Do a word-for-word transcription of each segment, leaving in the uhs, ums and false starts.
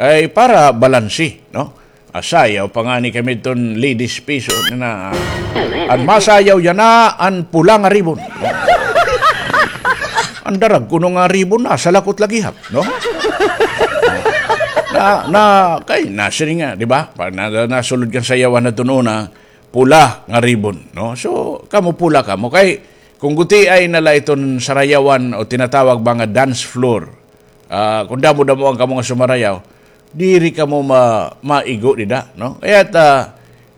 ay para balanse, no? Ah, sayaw pa ngani kami ton ladies piso na, an masayaw yana an pula nga ribon. An darag kuno nga ribon na, salakot lagi hap, no? Na, na, kay, nasiring nga, di ba? Pa, na, na, nasulod kan sayawan na ton una, pula nga ribon, no? So, kamo pula kamo. Kay, kung gutiay na la iton sarayawan o tinatawag ba nga dance floor, ah, kung damo-damoan kamo nga sumarayaw, diri kamo ma-, maigo dida, no? Kaya ta,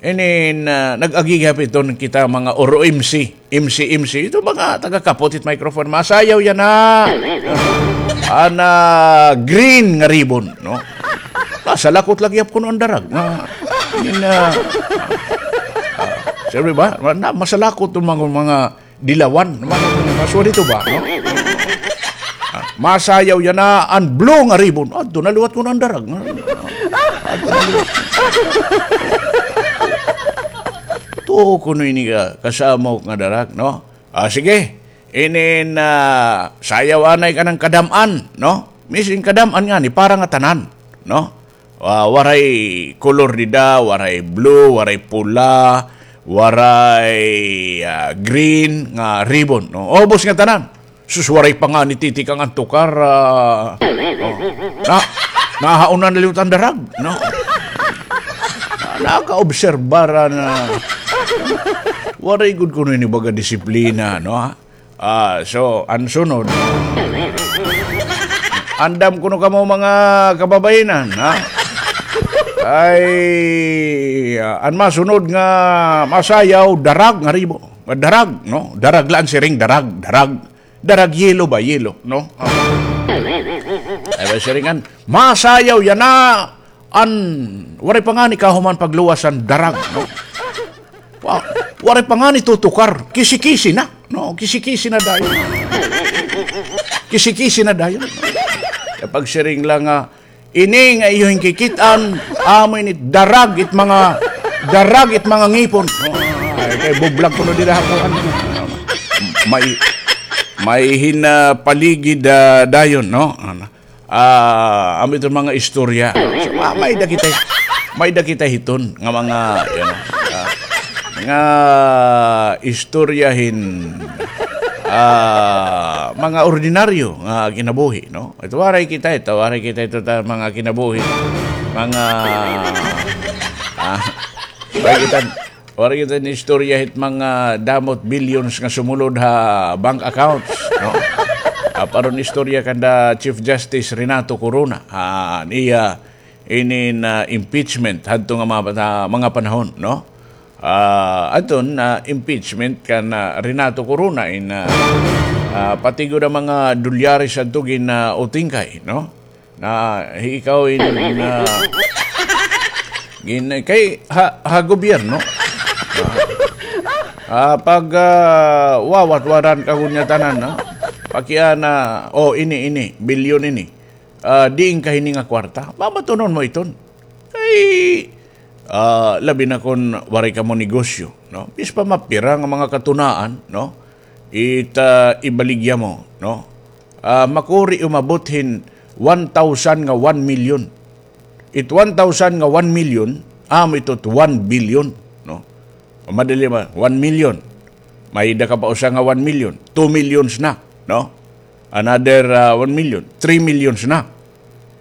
inin, ah, nag-agi gihap iton kita mga oro M C, M C, M C, ito mga taga-kapot it microphone, masayaw yana, ah, an, ah, green nga ribon, no? Masalakot lagi gihap kuno an darag. Nga, inin, ah, ah, sabi ba? Na, masalakot iton mga, mga dilawan. Mga, mga sorry to ba, no? Ah, masayaw yana an blue nga ribon. Adto na liwat kuno an darag. Adto na liwat. Tuo kuno ini ka, kasamok nga darag, no? Ah, sige. Inin, ah, sayaw anay ka ng kadam-an, no? Misin kadam-an ngani, para nga tanan, no? Ah, waray kolor dida, waray blue, waray pula, waray, ah, green nga ribbon, no? Ubos nga tanan. Sus, waray pa ngani titikang an tukar, ah, oh. Na, nahauna na liwat an darag, no? Nakaobserbar na. Waray gud kuno ini baga disiplina, no? Ah, so, an sunod. Andam kuno kamo mga kababayenan, ha? Ay, ah, an masunod nga masayaw, darag nga ribo. Darag, no? Darag la an siring, darag, darag. Darag yelo ba, yelo, no? Ay, ba siringan, masayaw yana an, waray pa ngani kahuman pagluwas an darag, no? Wa-, waray pa ngani tutukar, kisi-kisi na, no? Kisi-kisi na dayon. Kisi-kisi na dayon. Kay pagsiring la nga, ini nga iyo hinkikit-an, amo ini darag it mga, darag it mga ngipon. Ay, kay bublag kuno dida ha kuan. May, may hinapaligid, ah, dayon, no? Ano? Ah, amo iton mga istorya. So, ma-, may-ada kita, may-ada kita hiton nga mga, you know, ah, nga istorya hin, ah, mga ordinaryo nga kinabuhi, no? Ito waray kita, ito waray kita, ito ta, mga kinabuhi, mga, ah, waray kita, waray kita hin istorya hit mga damo it billions nga sumulod ha bank accounts, no? Ah, paron istorya kanda Chief Justice Renato Corona, ah, an iya inin, ah, impeachment hadto nga mga, mga panahon, no? Ah, adton, ah, impeachment kan, ah, Renato Corona in, ah, ah, pati gud an mga dolyares adto gin, ah, utingkay, no? Na ikaw in, ah, gin-, kay ha, ha gobyerno. Ah, pag, ah, wawat-waran ka gud niya tanan, no? Pakiana, oh, ini, ini, bilyon ini. Ah, diin ka hini nga kwarta? Babatunon mo iton. Kay, ah, labi na kon waray kamo negosyo, no? Bisan pa mapira nga mga katunaan, no? It, ah, ibaligya mo, no? Ah, makuri umabot hin one thousand nga one million. It one thousand nga one million, amo ito it one billion, no? Madali man, one million. May-ada ka pa usa nga one million, two millions na, no? Another, ah, one million, three millions na.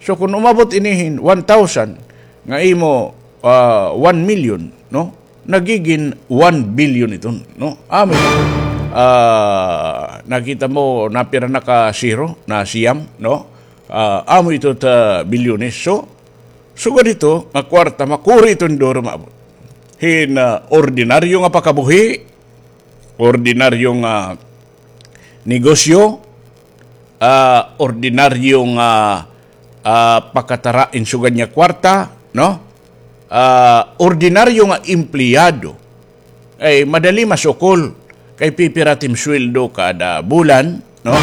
So, kon umabot ini hin one thousand nga imo, ah, one million, no? Nagigin one billion iton, no? Amo, ah, nakita mo, napira na ka zero, na siyam, no? Ah, amo ito ta bilyones. So, sugad ito nga kwarta, makuri iton duro maabot. Hin, ah, ordinaryo nga pakabuhi, ordinaryo nga negosyo, ah, ordinaryo nga, ah, pakatara hin sugad niya kwarta, no? Ah, ordinaryo nga empleyado, ay madali masukol kay pipira it im sweldo kada bulan, no?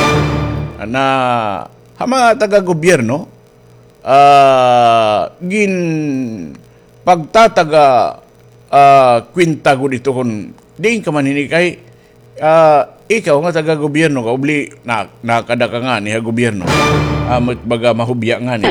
Na ha mga taga-gobyerno, ah, gin-, pagtataga, ah, kwenta gud ito kon diin ka man hini kay, ah, ikaw nga taga-gobyerno ka, ubli na, nakada ka ngani ha gobyerno. Amo it baga mahubya ngani.